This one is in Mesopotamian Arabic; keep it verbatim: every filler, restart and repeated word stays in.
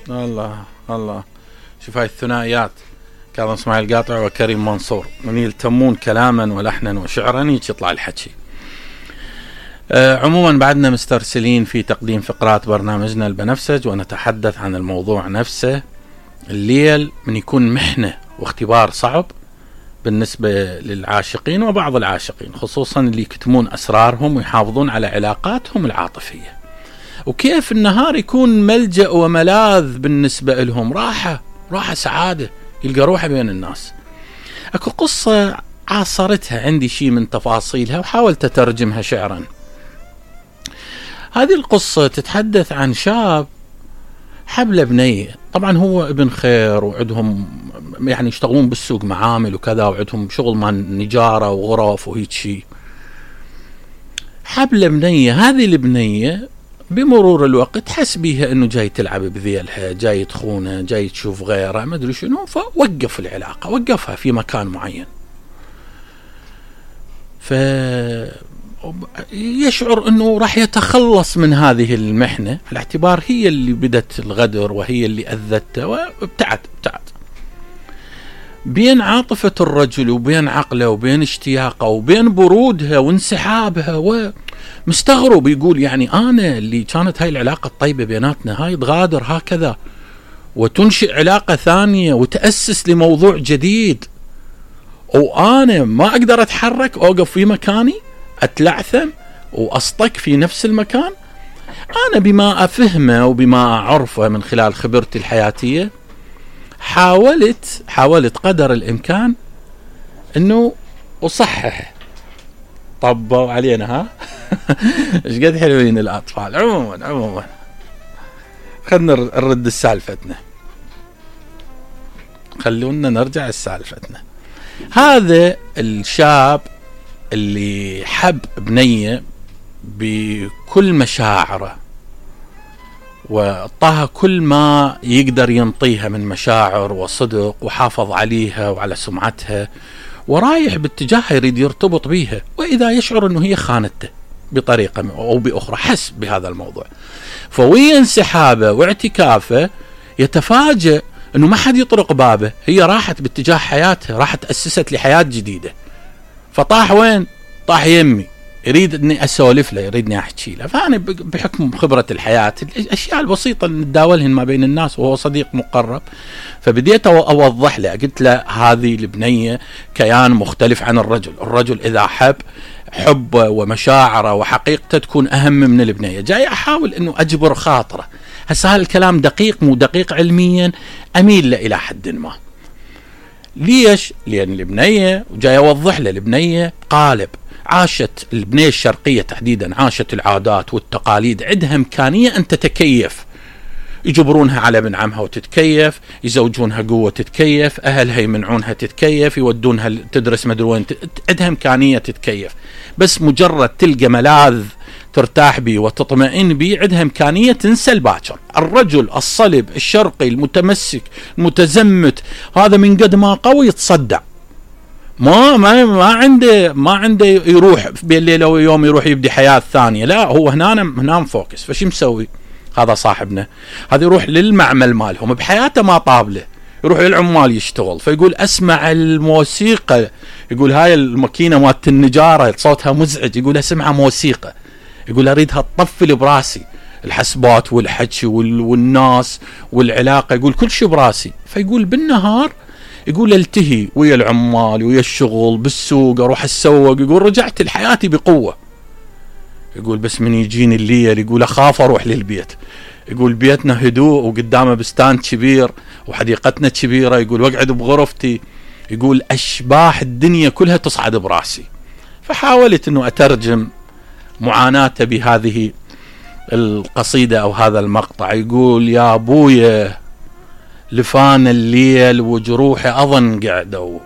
الله الله. شوف هاي الثنائيات، كاظم اسماعيل قاطع وكريم منصور، من يلتمون كلاما ولحنا وشعرا يطلع الحكي. أه عموما بعدنا مسترسلين في تقديم فقرات برنامجنا البنفسج، ونتحدث عن الموضوع نفسه. الليل من يكون محنة واختبار صعب بالنسبة للعاشقين وبعض العاشقين، خصوصا اللي يكتمون أسرارهم ويحافظون على علاقاتهم العاطفية، وكيف النهار يكون ملجأ وملاذ بالنسبة لهم، راحة راحة سعادة، يلقى روحه بين الناس. أكو قصة عاصرتها عندي شيء من تفاصيلها وحاولت أترجمها شعرا. هذه القصة تتحدث عن شاب حبل بنية، طبعا هو ابن خير وعندهم يعني يشتغلون بالسوق معامل وكذا، وعندهم شغل مع نجارة وغرف وهيك شيء. حبل بنية، هذه البنية بمرور الوقت حس بيها انه جاي تلعب بذيلها، جاي تخونه، جاي تشوف غيره، ما ادري شنو، فوقف العلاقة، وقفها في مكان معين. ف يشعر انه راح يتخلص من هذه المحنة، على اعتبار هي اللي بدت الغدر وهي اللي اذته، وابتعد ابتعد بين عاطفة الرجل وبين عقله وبين اشتياقه وبين برودها وانسحابها، ومستغرب يقول يعني انا اللي كانت هاي العلاقة الطيبة بيناتنا هاي تغادر هكذا وتنشئ علاقة ثانية وتأسس لموضوع جديد، وانا ما اقدر اتحرك، اوقف في مكاني، اتلعثم واصطك في نفس المكان. انا بما افهمه وبما اعرفه من خلال خبرتي الحياتية حاولت حاولت قدر الامكان انه اصحح. طبوا علينا ها ايش قد حلوين الاطفال. عموما عموما خلنا نرد السالفتنا، خلونا نرجع السالفتنا. هذا الشاب اللي حب بنية بكل مشاعره وطاها كل ما يقدر ينطيها من مشاعر وصدق، وحافظ عليها وعلى سمعتها، ورايح باتجاهها يريد يرتبط بيها، وإذا يشعر أنه هي خانته بطريقة أو بأخرى، حس بهذا الموضوع، فوي انسحابه واعتكافه يتفاجأ أنه ما حد يطرق بابه، هي راحت باتجاه حياتها، راحت أسست لحياة جديدة. فطاح وين؟ طاح يمي، يريد اني اسولف له، يريدني احكي له. فانا بحكم خبرة الحياة الاشياء البسيطة اللي نتداولهن ما بين الناس، وهو صديق مقرب، فبديت اوضح له، قلت له هذه البنية كيان مختلف عن الرجل، الرجل اذا حب حبه ومشاعره وحقيقته تكون اهم من البنية. جاي احاول انه اجبر خاطره. هسه هذا الكلام دقيق مو دقيق علميا، اميل له الى حد ما. ليش؟ لأن البنية، وجاي أوضح له، البنية قالب، عاشت البنية الشرقية تحديدا، عاشت العادات والتقاليد، عندها إمكانية أن تتكيف، يجبرونها على ابن عمها وتتكيف، يزوجونها قوة تتكيف، أهلها يمنعونها تتكيف، يودونها تدرس مدري وين، عندها إمكانية تتكيف، بس مجرد تلقى ملاذ ترتاح بي وتطمئن بي، عندها إمكانية تنسى الباكر. الرجل الصلب الشرقي المتمسك المتزمت هذا من قد ما قوي يتصدع، ما ما ما عنده ما عنده يروح بين ليلة ويوم يروح يبدي حياة ثانية، لا هو هنا هنا مفوكس. فشي مسوي هذا صاحبنا؟ هذا يروح للمعمل مالهم، بحياته ما طابله، يروح للعمال يشتغل، فيقول اسمع الموسيقى، يقول هاي الماكينة مالت النجارة صوتها مزعج، يقول اسمع موسيقى، يقول اريدها تطفل براسي، الحسبات والحكي والناس والعلاقة، يقول كل شيء براسي. فيقول بالنهار يقول التهي ويا العمال ويا الشغل بالسوق، اروح السوق، يقول رجعت لحياتي بقوة. يقول بس من يجيني الليل يقول اخاف اروح للبيت، يقول بيتنا هدوء وقدامه بستان كبير وحديقتنا كبيرة، يقول واقعد بغرفتي، يقول اشباح الدنيا كلها تصعد براسي. فحاولت انه اترجم معاناته بهذه القصيدة او هذا المقطع. يقول يا ابويا لفان الليل وجروحي اظن قعدوا،